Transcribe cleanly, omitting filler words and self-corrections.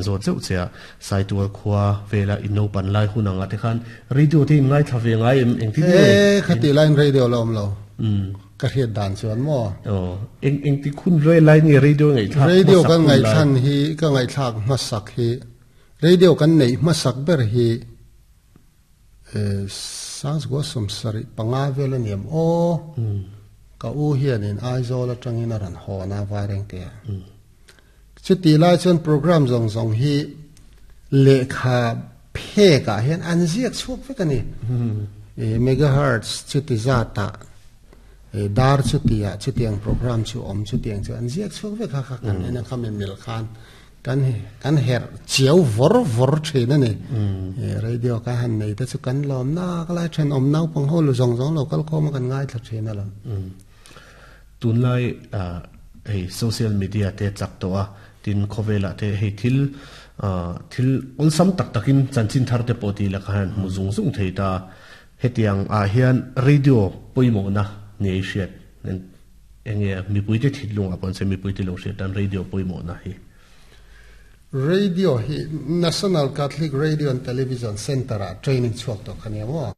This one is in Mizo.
zawt zeuh che a, Saitual khua vela in naupan lai hun anga te khan radio te in ngaithla ve ngai em engtin nge? E, khati laiin radio la awm lo. Ka hriat dan chuan maw? Aw, eng engti khun ve lai nge radio ngaihthlak hmasak hun lai? Radio kan ngaihthlan hi, ka ngaihthlak hmasak hi, radio kan neih hmasak ber hi Sangzgua 75 vel a niam aw. Ka u hianin Aizawl atangin a rawn hawn a Vairengte ah. Chutih lai chuan program zawng zawng hi lehkha phek ah hian an ziak chhuak vek a ni. Megahertz chuti zat ah dar chuti ah chutiang program chu awm chutiang chu an ziak chhuak vek a kha kan en a khami mil khan Kan kan herh chiau vawr vawr thin a ni. Radio ka han nei te chu kan lawm nak lai thenawm naupang ho lu zawng zawng lo kal khawm a kan ngaithla thin a lo. Tunlai hei social media te chak tawh a, tin khawvelah te hei thil thil awlsam tak takin chanchin thar te pawh tih lakah hian hmu zung zung thei ta. Hetiang ah hian radio pawimawhna ni ei hriat. Enge mipuite thinlungah pawh an sawi mipuite lo hriat tan radio pawimawhna hi. Radio hi National Catholic Radio and Television Centre ah training chhuak tawh kha nia maw?